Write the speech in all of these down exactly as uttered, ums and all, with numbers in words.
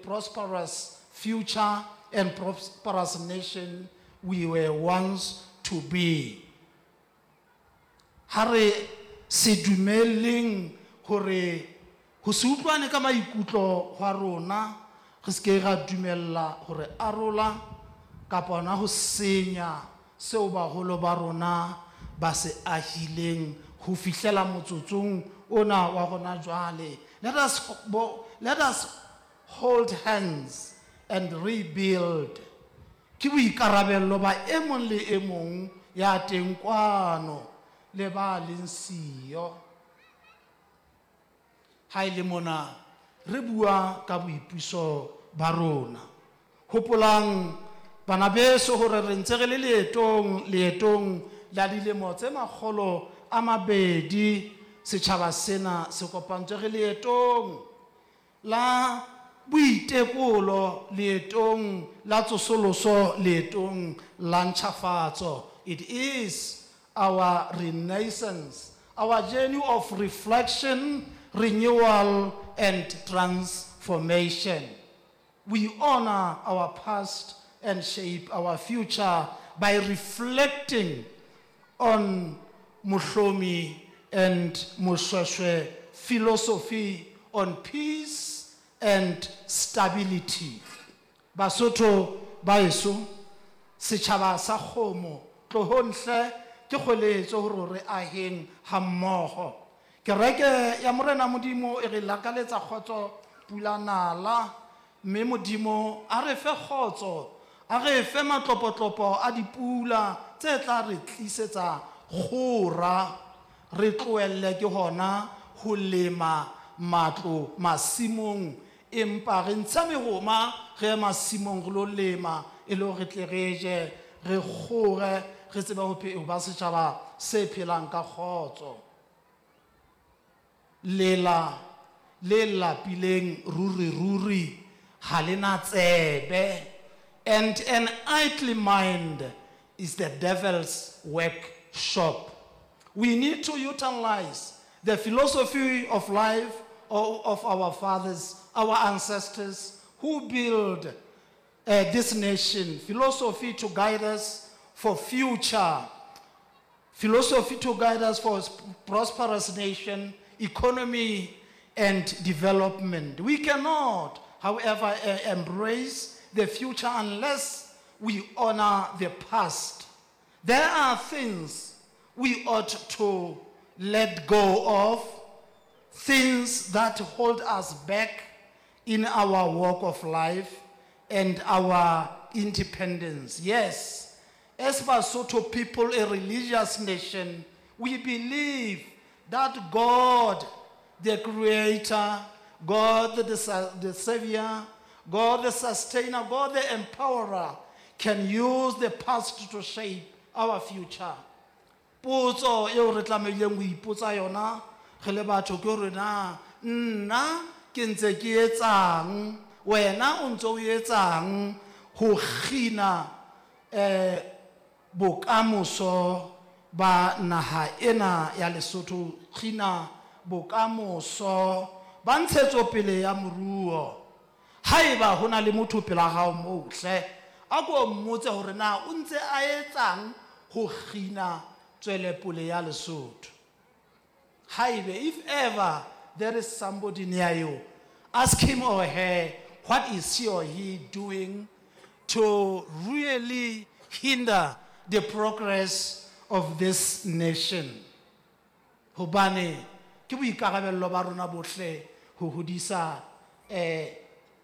prosperous future and prosperous nation we were once to be. Ha re se dumelleng hore ho se utlwane ka maikutlo hwa rona, re se ke ra dumella hore arola kapa hona ho senya seo baholo ba rona ba se ahileng ho fihlela motsotsong ona wa rona jwale. Let us, bo, let us hold hands and rebuild. Ke boikarabello ba e mong le e mong ya teng kwano le ba leng siyo. Ha e le mona re bua ka boipuso ba rona. Hopolang bana beso hore re ntse re le leetong, leetong la dilemo tse makgolo a mabedi setjhaba sena se kopantswe re leetong la boitekolo, leetong la tsosoloso, leetong la ntjhafatso. It is our renaissance, our journey of reflection, renewal and transformation. We honor our past and shape our future by reflecting on Mohlomi and Moshoeshoe philosophy on peace and stability. Basotho baeso, setjhaba sa kgomo, tlohong hle ke kgoeletso hore re aheng hammoho. Kereke ya Morena Modimo e re lakaletsa kgotso pula nala, mme Modimo a re fe kgotso, a re fe matlopotlopo a dipula tse tla re tlisetsa kgora, re tlohelle ke hona ho lema matlo masimong, empa re ntshe mehoma re ye masimong re lo lema e le hore re tle re je, re kgore, re tsebe ho phe-, ho ba setjhaba se phelang ka kgotso. Lela le lapileng ruri ruri ha le na tsebe, and an idle mind is the devil's workshop. We need to utilize the philosophy of life of our fathers, our ancestors who built, uh, this nation, philosophy to guide us for future, philosophy to guide us for prosperous nation, economy and development. We cannot, however, uh, embrace the future unless we honor the past. There are things we ought to let go of, things that hold us back in our walk of life and our independence. Yes, as Basotho people, a religious nation, we believe that God, the Creator, God the, the, the Savior, God the Sustainer, God the Empowerer, can use the past to shape our future. Potso eo re tlamehileng ho ipotsa yona re le batho ke hore na nna ke ntse ke etsang, wena o ntse o etsang ho kgina, eh, bokamoso ba naha ena ya Lesotho, kgina bokamoso ba ntshetsopele ya moruo. Haeba ho na le motho pela hao moo hle, a ko mmotse hore na o ntse a etsang ho kgina tswelepele ya Lesotho. Haebe, if ever there is somebody near you, ask him or her, what is she or he doing to really hinder the progress of this nation? Hobane ke boikarabello ba rona bohle ho hodisa, eh,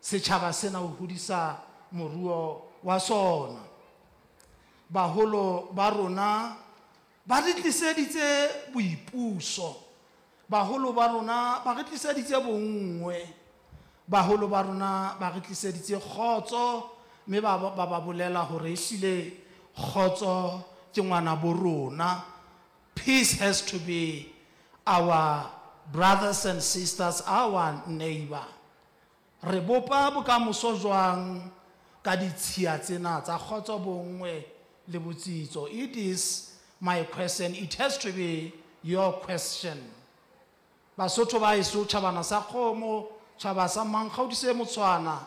setjhaba sena, ho hodisa moruo wa sona. Baholo ba rona ba re tliseditse boipuso, baholo ba rona ba re tliseditse bonngwe, baholo ba rona ba re tliseditse kgotso, mme ba, ba ba bolela hore ehlile kgotso ke ngwana bo rona. Peace has to be our brothers and sisters, our neighbor. Re bopa bokamoso jwang ka ditshiya tsena tsa kgotso, bonngwe le botsitso? It is my question. It has to be your question. Basotho ba heso, tjhabana sa kgomo, tjhaba sa Mankgaodise Motshwana,